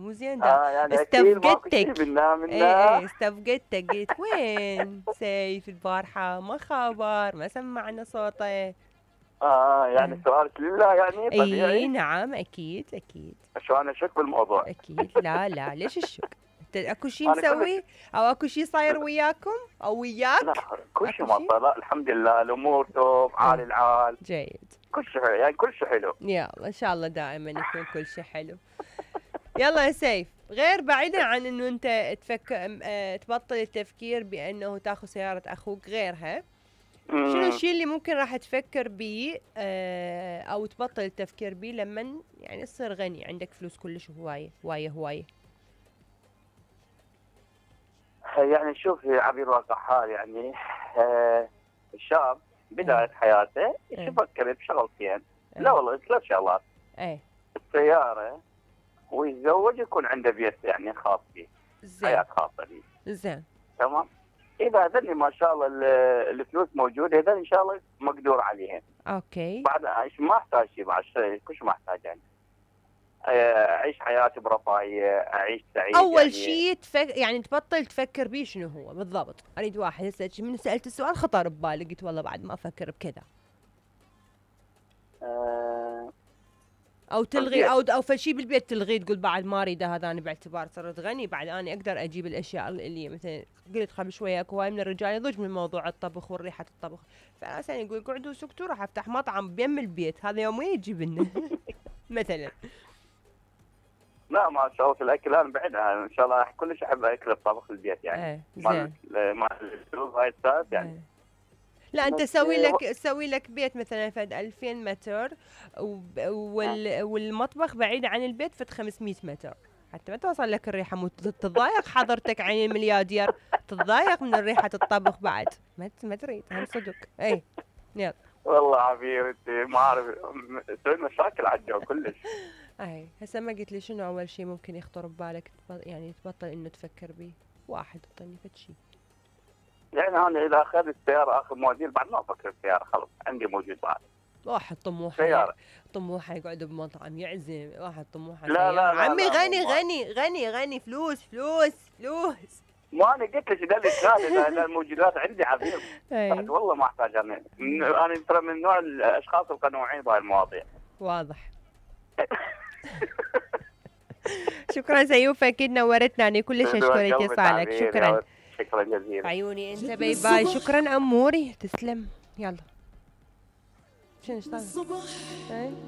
مو زين دا. يعني اكيد ماكو شيء منا ايه استفقدتك، قلت وين سيف البارحة ما خبر، ما سمعنا صوته. يعني سؤالك لله يعني طبيعي. اي نعم اكيد. شو انا شك بالموضوع؟ اكيد. لا ليش الشك؟ اكو شيء مسوي او اكو شيء صاير وياكم او وياك؟ لا كل شيء ما صار، لا الحمد لله الامور توب عال العال. جيد. كل شيء يعني كل شيء حلو. يلا ان شاء الله دائما يكون كل شيء حلو. يلا يا سيف، غير بعيدا عن انه انت تبطل التفكير بانه تاخذ سيارة اخوك، غيرها شنو الشيء اللي ممكن راح تفكر بيه او تبطل التفكير بيه لما يعني تصير غني، عندك فلوس كلش هواية؟ يعني شوف يا عبير الواقع حال يعني الشاب بداية حياته يفكر بشغلتين. لا والله 3 شغلات. السيارة ويتزوج يكون عنده بيت يعني خاص به، حياة خاصة به. زين تمام. إذا هذني ما شاء الله الفلوس موجودة، هذول إن شاء الله مقدور عليهم. اوكي. بعد ايش ما احتاج شيء، بعد شيء كلش ما احتاج يعني. اعيش حياتي برفاهية، اعيش سعيد. اول يعني شيء يعني تبطل تفكر بيه شنو هو بالضبط؟ اريد واحد هسه من سالت السؤال خطر ببالي، قلت والله بعد ما افكر بكذا. او تلغي او فشي بالبيت تلغي، تقول بعد ما اريد هذا، انا باعتبار صرت غني بعد انا اقدر اجيب الاشياء اللي مثلا قلت قبل شويه اكو هواي من الرجال يضج من موضوع الطبخ والريحه الطبخ، فاساسا يقول قعدوا سكتوا راح افتح مطعم بيم البيت، هذا يومين يجيب لنا مثلا. لا ما شاء الله في الاكل انا بعدها ان شاء الله كلش احب اكل الطبخ البيت يعني. زين. مال الفلوس هاي الساعات يعني. لا انت سوي لك بيت مثلا فد 2000 متر والمطبخ بعيد عن البيت فد 500 متر، حتى ما توصل لك الريحه، تتضايق حضرتك عين الملياردير، تتضايق من ريحه الطبخ بعد، ما تريد هم صدق. يلا والله عبير انت ما اعرف تسوي مشاكل على الجو كلش. هسه ما قلت لي شنو اول شيء ممكن يخطر ببالك يعني تبطل انه تفكر به؟ واحد اعطيني فد شيء. يعني انا اذا اخذت السياره اخر موديل بعد ما افكر بالسياره، خلص عندي موجود بعد. واحد طموحه يقعد بمطعم يعزم، واحد طموحه لا عمي غني فلوس. ما انا قلت لك ده الاشكال الموجودات عندي عظيم. والله ما احتاج انا ترى من نوع الاشخاص القنوعين بهاي المواضيع. واضح. شكرا سيوف، اكيد نورتنا، انا كلش اشكرك يسعدك. شكرا جزيلا. عيوني انت باي. شكرا اموري، تسلم. يلا شنو اشتغل